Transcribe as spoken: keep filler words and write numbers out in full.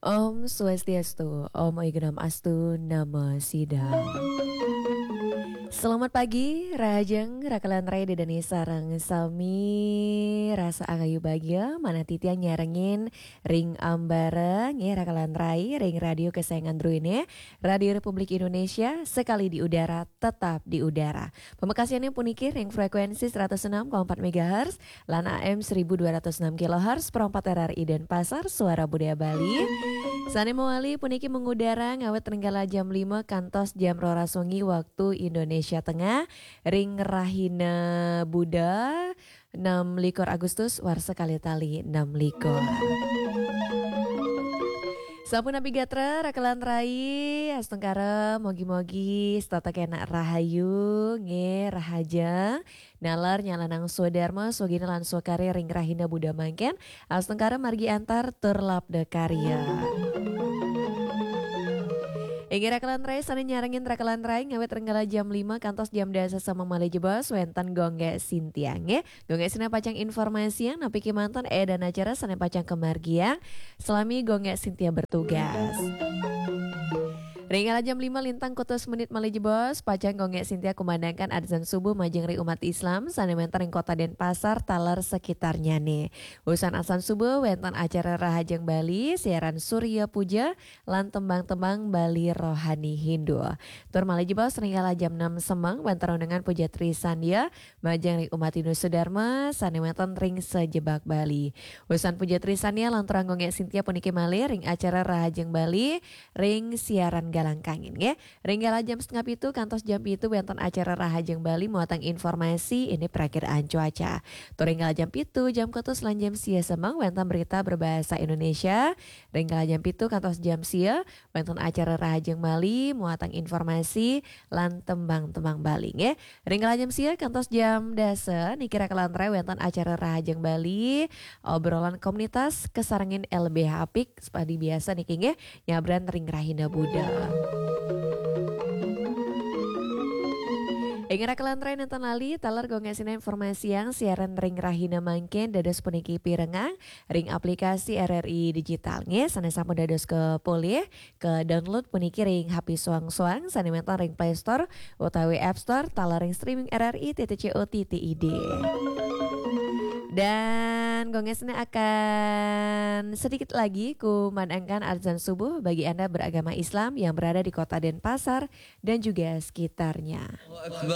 Om Swastiastu, Om Oignam Astu, Namo Sidam. Selamat pagi, rahajeng, rakalan rai Ida dané sareng sami, rasa angayu bagia, manah titiang nyarengin ring ambara, nggih, rakalan rai, ring radio kesayangan druéné, Radio Republik Indonesia, sekali di udara, tetap di udara. Pamekasihané puniki ring frekuensi seratus enam koma empat megahertz, lan A M seribu dua ratus enam kilohertz, Pro empat R R I Denpasar, Suara Budaya Bali. Sané mawali puniki mangudara ngawit ring kala jam lima kantos jam roras wengi waktu Indonesia Tengah, ring rahina Buda, enam likur Agustus, warsa kalih tali enam likur. Sampun napi gatra, rakalan rai, astungkara, mogi-mogi setata kénak rahayu, nggih, rahajeng, nalar nyalanang swadarma, swagina lan swakarya ring rahina Buda mangkin, astungkara margi antar tur labda karya. Inggih rakalan rai, sané nyarengin rakalan rai ngawit ring kala jam lima kantos jam dasa semeng malih jebos wénten Gung Gék Sintia, nggih. Gung Gék Sintia pacang informasiang napi kémanten édan acara sané pacang kamargiang, salami Gung Gék Sintia bertugas. Ring kala jam lima lintang kutus menit malih jebos, pacang Gung Gék Sintia kumandangkan adzan subuh majeng ring umat Islam sané wénten ring Kota Denpasar taler sekitarnyané. Wusan adzan subuh wénten acara Rahajeng Bali, siaran Surya Puja, lan tembang-tembang Bali Rohani Hindu. Tur malih jebos ring kala jam enam semeng wénten ronongan Puja Trisandya majeng ring umat Hindu sedharma sané wénten ring sajebag Bali. Wusan Puja Trisandya lanturang Gung Gék Sintia puniki malih ring acara Rahajeng Bali ring siaran Galang Kangin, nggih. Ring kala jam setengah pitu kantos jam pitu wénten acara Rahajeng Bali muatan informasi indik prakiraan cuaca. Tur ring kala jam pitu, jam kutus lan jam sia semeng wénten berita berbahasa Indonesia. Ring kala jam pitu kantos jam sia wénten acara Rahajeng Bali muatan informasi lan tembang-tembang Bali, nggih. Ring kala jam sia kantos jam dasa niki rakalan rai wénten acara Rahajeng Bali, obrolan komunitas kasarengin L B H Apik seperti biasa niki, nggih, nyabran ring rahina Buda. Inggih rakalan rai, nénten lali taler Gung Gék Sintia informasiang siaran ring rahina mangkin dados puniki pirengang ring aplikasi R R I Digital, nggih, sané sampun dados kapolih, ka-download puniki ring H P soang-soang sané wénten ring Play Store utawi App Store taler ring streaming R R I titik co titik I D. Dan Gung Gék Sintia akan sedikit lagi kumandangkan adzan subuh bagi Anda beragama Islam yang berada di Kota Denpasar dan juga sekitarnya. Allahu Akbar,